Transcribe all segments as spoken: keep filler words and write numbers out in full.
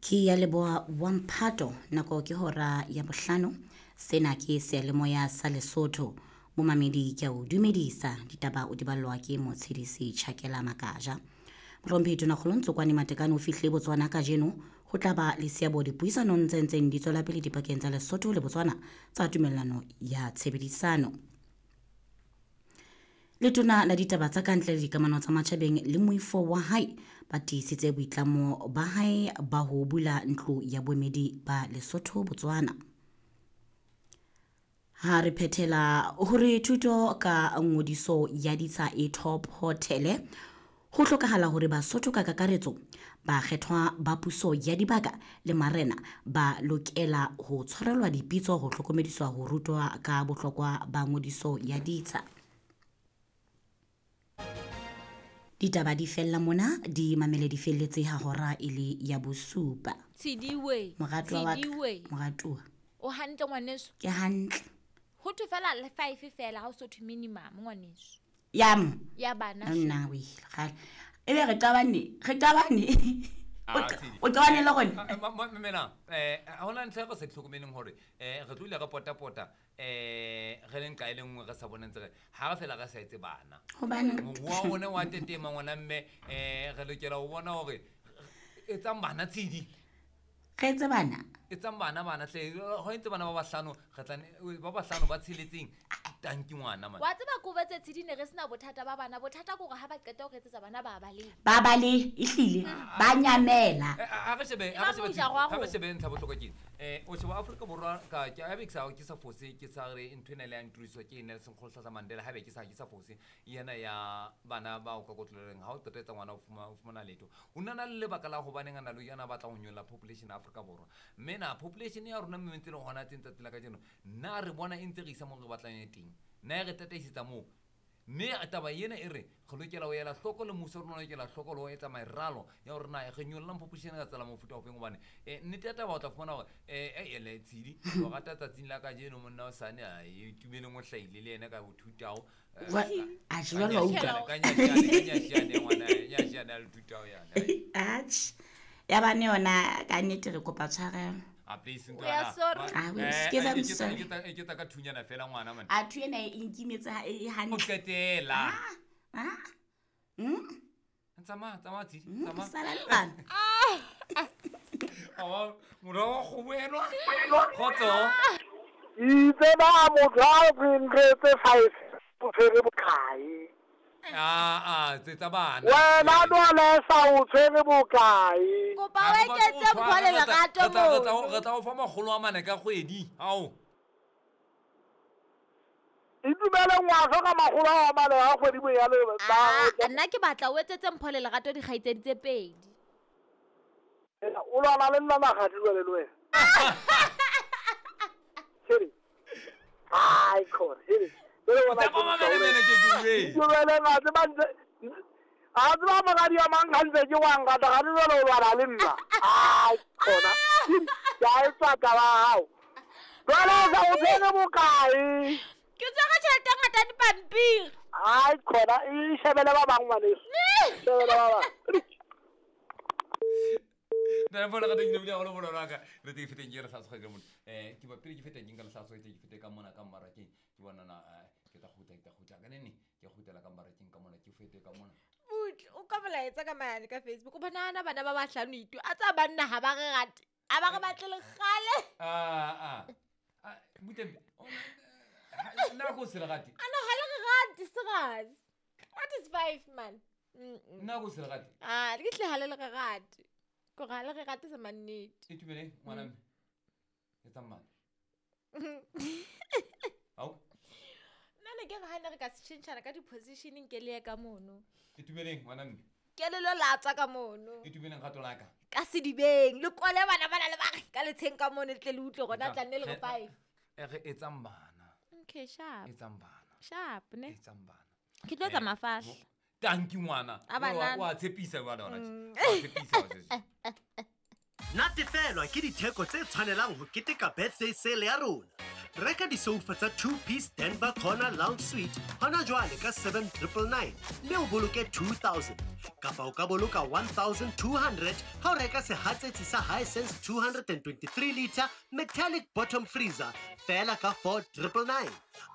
Ke ya leboha wa mphato, nako ke hora ya bohlano. Sena ke seyalemoya sa Lesotho. Momamedi ke a o dumedisa, ditaba o di ballwa ke Motshedisi Tjhakela Makaja. Mohlomphehi Tonakgolo Ntsokwane Matekane o fihlile Botswana kajeno ho tla ba le seabo dipuisanong tse ntseng di tswela pele dipakeng tsa Lesotho le Botswana tsa tumellano ya tshebedisano. Letona la ditaba tsa kantle le dikamano tsa matjhabeng le moifo wa hae ba tiisitse boitlamo ba hae ba ho bula ntlo ya boemedi ba Lesotho Botswana. Ha re phethela hore thuto ka ngodiso ya ditsha e top hotel, ho hlokahala hore Basotho ka kakaretso ba kgethwa ba puso ya dibaka le marena ba lokela ho tshwarelwa dipitso ho hlokomediswa ho rutwa ka bohlokwa ba ngodiso ya ditsha. Ditaba di fella mona, di mamele di felletse ha hora e le ya bosupa. Tshidiwe, Moratuwa wa ka, Tshidiwe. moratuwa. O hantle ngwaneso? Ke hantle. Ho thwe fela le five fela ha o so thwe minimum ngwaneso. Yam. Ya bana. Nna we, kgale. Ebe re qabane, re qabane. Ah, O qa- Tshidi. o qabane le rona? Ah, ma- ma- mamela, eh, ha hona ntho e re sa tlhokomeleng hore, eh, re tlohile re pota-pota, eh, re le nqa e le nngwe re sa boneng tse re, ha re fela re sa etse bana. Hobaneng? Moruo wa rona wa tetema ngwana mme, eh, re lokela ho bona hore etsang bana Tshidi. Re etse bana? Etsang bana bana hle, ho entse bana ba bahlano, re tla ne-, ba bahlano ba tsheletseng, tanki ngwana man. Wa tseba ko betse Tshidi ne re sena bothata ba bana, bothata ke hore ha ba qeta ho re etsetsa bana ba baleha. Ba balehe, ehlile, ba nyamela. Eh, a re shebe, a Ba re shebe mo Tshidi, ja ha re hwa shebe ntlha bohlokwa ke eng? Eh, o sheba Afrika Borwa ka, ke a be ke sa, ke sa fose, ke sa re ntho ena le ya nturiswa ke Nelson Rolihlahla Mandela, haebe ke sa, ke sa fose, yena ya bana ba o ka kotloleng, ha o qeta etsa ngwana o fuma-, o fumana letho. Ho na na le lebaka la hobaneng a na le yena a batla ho nyolla population ya Afrika Borwa. Mme na population ya rona mme ntse le hona teng tsatsi la kajeno, na re bona e ntse re isa moo re batlang e teng? Na e re tataisetsa moo? Mme taba ena e re, re lokela ho ela hloko le mmuso wa rona o lokela hloko le ho etsa meralo ya hore na re nyollang population ka tsela mofuta ofeng, hobane, eh, nnete ya taba o tla fumana hore, eh, eh, ele Tshidi, o rata tsatsing la kajeno monna o sane, a e tumeleng o hlahile le yena ka ho thutao. Eh, Wa- ka- a jwale wa utlwa. ka nyashane, ka nyashane, ngwana, nyashane a le thutao yana. Atjhe. Ya bane yona ka nnete re kopa tshwarelo. Ah, please, We are ntwana. sorry. Ma- Ah, we eh, excuse, eh, I'm ke tsa- sorry. ke tsa-, ke tsa ka thunyana fela ngwana, man. A thunyana e nkimetse ha e hantle. O qetela. Ah, ah. Mm. Tsamaya, tsamaya, Tshidi, Mm, tsamaya. sala le bana. Ah. Awa, mora wa kgomo enwa. Kgotso. Itse ba motho a re nretse five, o tshwere bokae? Ah, ah, tse tsa bana. Wena Nwalesa o tshwere bokae? Kopa Ha o re batle eketse ho tshwara, mpho le re tla- lerato re tla- re tla- mono. re tla o fa makgolo a mane ka kgwedi. Ao. Itumele ngwaso ka makgolo a mane a kgwedi bonyane, ba- Ah, nna ke batla o etsetse mpho le lerato dikgaitsedi tse pedi. O lwana le nna magadi jwale le wena. Here. Ai, khona, here. Jwale bona Tsa ke mamele mene ke bue. Itumele nga tseba ntse- a tseba magadi a mang hantle ke wa nkata, ga le jwale o lwana le nna. Ai, khona. Ke a e tswa taba ya hao. Jwale o sa o tshwere bokae? Ke tshwere tjhelete e ngata ya dipampiri. Ai, khona, e shebele ba bang ngwaneso. Shebele ba bang. Nna bona ka teng ke bile haholo bona ka. Le teng feteng ke re sa tshwere motho. Eh, ke ba pele ke feteng ke nka le sa tshwere ke fete ka mona ka mmarakeng. Ke bona na, eh, ke tla kgutla, ke tla kgutla ka nene. Ke kgutlela ka mmarakeng ka mona, ke fete ka mona. Butle, o ka molaetsa ka mayane ka Facebook. O bona bana ba bahlano itu. A tsa banna ha ba re rate. A ba re batle le kgale. Ah, ah. Ah, butle, o na, nna ko se le rate. A no, ha le re rate, serious. What is five, man? Mm-mm. Nna ko se le rate. Ah, ke tle ha le le re rate. Ko ga le re rate se mannete. Itumele, ngwana mme. Etsang bana. Ao. Nna ne ke re ha ne re ka se tjhentjhana ka di-positioning ke le ye ka mono. Itumeleng, ngwana mme. Ke le lo latswa ka mono. Itumeleng kgato la ka. Ka sedibeng, le kwale bana bana le ba re ka letsheng ka mono, le tle le utlwe hore na Etsa- tla nne le re re- five. E re etsang bana. Okay, sharp. Etsang bana. Sharp, ne? Etsang bana. Ke tlo etsa Eh, mafahla. mo-, Thank you, ngwana. A banana. Wa tshepisa jwale hona tje. Mm. Wa tshepisa wa tshepisa. Natefelwa ke ditheko tse tshwanelang ho keteka birthday sale ya rona. Reka disoufa tsa two-piece Denver Corner Lounge Suite hona jwale ka seven triple nine mme o boloke two thousand. Kapa o ka boloka one thousand two hundred ha o reka sehatsetsi sa Hisense two hundred and twenty-three liter metallic bottom freezer feela ka four triple nine.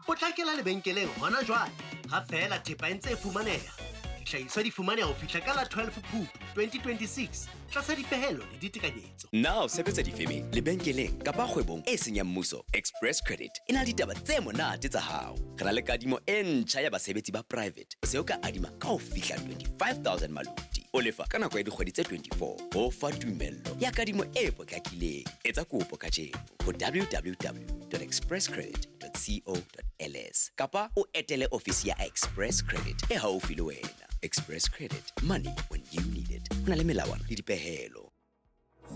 Potlakela lebenkeleng hona jwale ha feela thepa e ntse e fumaneha. Dihlahiswa di fumaneha ho fihla ka la twelve Phupu twenty twenty-six tlasa dipehelo le ditekanyetso. Na o sebetsa difemeng, lebenkeleng kapa kgwebong e seng ya mmuso? Express Credit e na le ditaba tse monate tsa hao. Re na le kadimo e ntjha ya basebetsi ba private. O se o ka adima ka ho fihla twenty-five thousand maluti. O lefa ka nako ya dikgwedi tse twenty-four. Ho fa tumello ya kadimo e potlakileng. Etsa kopo kajeno ho w w w dot express credit dot co dot l s kapa o etele ofisi ya Express Credit e haufi le wena. Express Credit, money when you need it. Ho na le melawana le dipehelo.